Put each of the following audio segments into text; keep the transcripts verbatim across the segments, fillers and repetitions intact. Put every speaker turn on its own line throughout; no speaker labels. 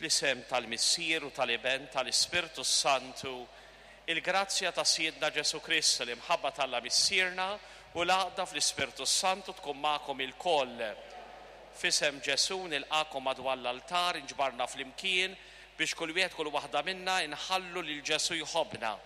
Fl-isem tal-Missier u tal-Iben tal-Ispirtu Santu, il-grazzja ta' Sidna Ġesù Kristu, l-imħabba t'Alla Missierna u l-għaqda fl-Ispirtu Santu tkun magħkom ilkoll. F'isem Ġesù nilqakom madwar l-altar inġbarna flimkien biex kull wieħed kull waħda minna inħallu lil Ġesù jħobbna.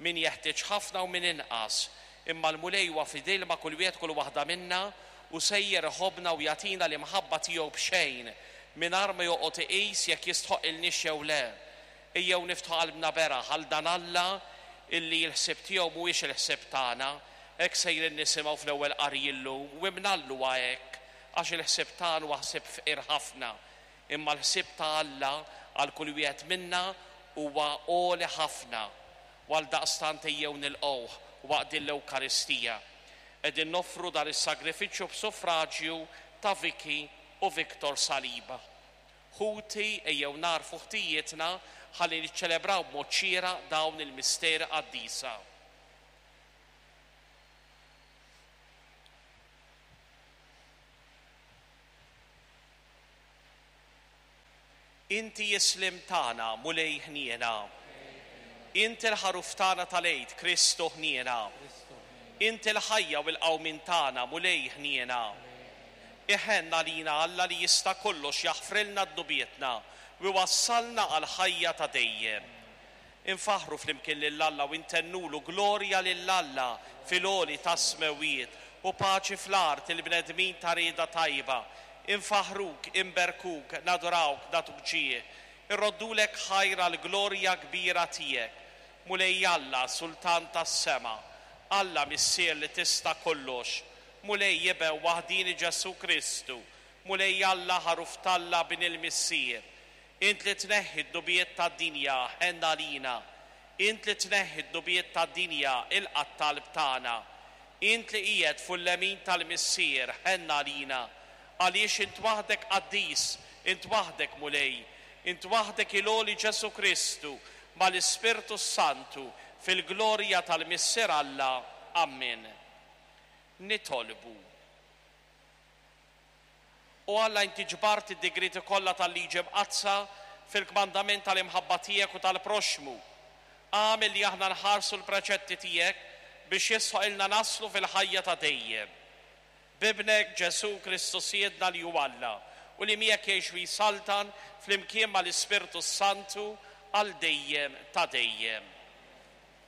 Min jeħtieġ ħafna u min inqas, imma l-Mulej huwa fidil ma' kull wieħed kull waħda minna u sejjer iħobbna u jagħtina l-imħabba tiegħu b'xejn mingħajr ma joqgħod iqis jekk jistħoqilniex jew le. Ejjew niftħu qalbna beraħ għal dan Alla illi l-ħsieb tiegħu mhuwiex il-ħsieb tagħna, hekk sejrin nisimgħu fl-ewwel qari llum u imnallu hekk għax il-ħsieb tagħna huwa ħsieb fqir ħafna. Imma l-ħsieb ta' Alla għal kull wieħed minna huwa għoli ħafna. U għal daqstant ejjew nilqgħuh waqt din l-Ewkaristija. Qegħdin noffru dan is-sagrifiċċju b'suffraġju ta' Vicky u Victor Saliba. Ħuti ejjew nagħrfu ħtijietna ħalli niċċelebraw b'mod xieraq dawn il-misteri qaddisa. Inti jislim tagħna, Mulej ħniena. Inti l-ħaruf tagħna tal-Għid, Kristu ħniena. Inti l-ħajja u l-qawmien tagħna, Mulej ħniena. Iħenn għalina Alla li jista' kollox jaħfrilna dnubietna u jwassalna għal ħajja ta' dejjem. Infaħru flimkien lil Alla u intennulu glorja lil Alla fil-għoli tas-smewwiet u paċi fl-art il-bnedmin ta' rieda tajba. Infaħruk, imberkuk, nadurawk, nagħtuk ġieħ. Irroddulek ħajr għall-glorja kbira tiegħek. Mulej Alla, Sultan tas-sema, Alla Missier li tista' kollox, Mulej Iben waħdini Ġesù Kristu, Mulej Alla ħaruf t'Alla bin il-Missier. Int li tneħħi d-dnubiet tad-dinja, ħenn għalina. Int li tneħħi d-dnubiet tad-dinja, ilqa' t-talb tagħna. Int li qiegħed fuq il-lemin tal-Missier, ħenn għalina. Għaliex int waħdek qaddis, int waħdek Mulej, int waħdek il-għoli Ġesù Kristu, mal-Ispirtu Santu, fil-glorja tal-Missier Alla. Amen. Nitolbu. O Alla, inti ġbart id-digrieti kollha tal-liġi mqaddsa fil-kmandament tal-imħabba tiegħek u tal-proxxmu. Agħmel li aħna nħarsu l-preċetti tiegħek biex jisħoqilna naslu fil-ħajja ta' dejjem. B'Ibnek Ġesù Kristu Sidna li hu Alla u li miegħek jgħix u jsaltan flimkien mal-Ispirtu Santu għal dejjem ta' dejjem.